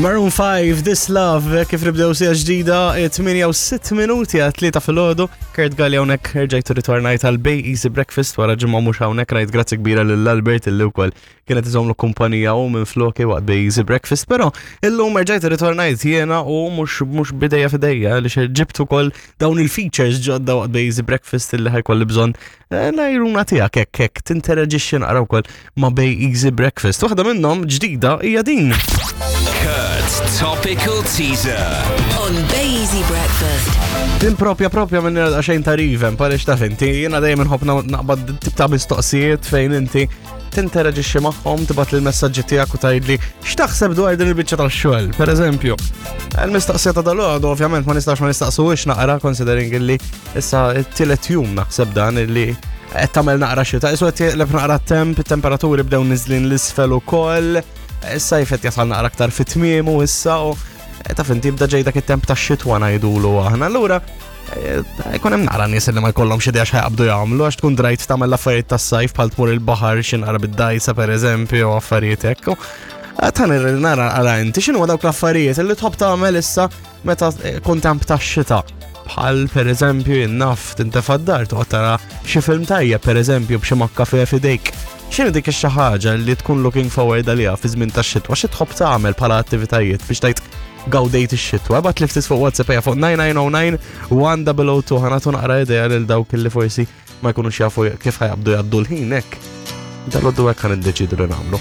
Maroon 5, This Love, kif nibdew sija ġdida, 8 u 6 minuti għal 3 filgħodu. Kurt Galli hawnhekk rġajtu ritornajt għal Bay Easy Breakfast wara ġimgħa mhux hawnhekk ngħid grazzi kbira lil Albert illi wkoll kienet iżomlu kumpanija u minn floki waqt Bay Easy Breakfast, però illum rġajt ritornajt jiena u mhux mhux bidejja fidejja li ġibt ukoll dawn il-features ġodda waqt Bay Easy Breakfast illi ħajkolli bżonn eh, l-għajruna tiegħek hekk hekk tinteraġixxi naqra wkoll ma' Bay Easy Breakfast. Waħda minnhom ġdida hija din. Kurt's Topical Teaser. On Bay Easy Breakfast. Din propja propja minn xejn ta' rivem, palix taf inti, jiena dejjem inħobb naqbad tip ta' mistoqsijiet fejn inti tinteraġixxi magħhom, tibgħat il-messaġġi tiegħek u tgħidli x'taħseb dwar din il-biċċa tax-xogħol. Per eżempju, il-mistoqsija ta' dalgħodu ovvjament ma nistax ma nistaqsuhiex naqra considering illi issa t-tielet jum naħseb dan illi qed tagħmel naqra xita, isu qed jeqleb naqra temp, temperaturi bdew niżlin l-isfel ukoll, issa jfet jasal naqra aktar fit-tmiemu issa u taf inti jibda ġej dak it-temp tax-xitwa ngħidulu aħna. Allura jkun hemm naqra nies li ma jkollhomx idea x'ħajqabdu jagħmlu għax tkun drajt tagħmel l-affarijiet tas-sajf bħal tmur il-baħar xi naqra bid-dajsa pereżempju u affarijiet hekk. Tan nara għara inti x'inhu dawk l-affarijiet li tħobb tagħmel issa meta kun temp tax-xita. Bħal pereżempju jinnaf tintefa' d-dar toqgħod tara xi film tajjeb pereżempju b'xi makkafe f'idejk. X'inhi dik xi ħaġa li tkun looking forward għaliha fi żmien tax-xitwa, xi tħobb tagħmel bħala attivitajiet biex tgħid gawdejt ix-xitwa. Ibgħat li ftit fuq WhatsApp ejja fuq 9909 1002 ħanatu naqra idea lil dawk li forsi ma jkunux jafu kif ħajabdu jgħaddu l-ħin hekk. Dal-għoddu hekk ħan iddeċidu li nagħmlu.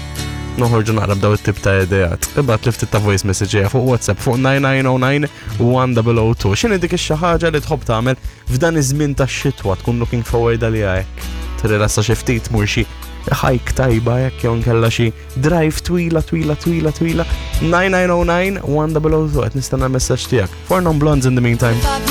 Noħorġu naqra b'daw it-tip ta' ideat. Ibgħat li ftit ta' voice message ejja fuq WhatsApp fuq 9909 1002. X'inhi dik ix-xi ħaġa li tħobb tagħmel f'dan iż-żmien tax-xitwa tkun looking forward għaliha hekk. Tirrilassa xi ftit mur xi hike tajba hekk jew nkella xi drive twila twila twila twila 9909 1002 qed nistenna l-messaġġ tiegħek. Four Non Blondes in the meantime.